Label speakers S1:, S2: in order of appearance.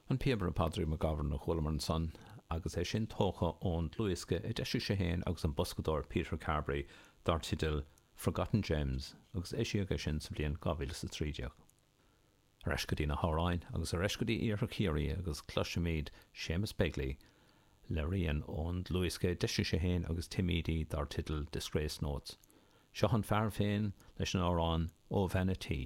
S1: An píobaire Padraig McGovern a chualamar ansan agus é sin tógtha ón dlúthdhiosca a d'eisigh sé féin agus an boscadóir Peter Carberry dar teideal Forgotten Gems agus eisíodh é sin sa bhliain 2013. Ar ais go dtí na hamhráin agus ar ais go dtí Iarthar Chiarraí agus cloisfimid Séamus Begley le rian ón dlúthdhiosca a d'eisigh sé féin agus Tim Edey dar teideal Disgrace Notes. Seo an fear féin leis an amhrán Ó Bhean a' Tí.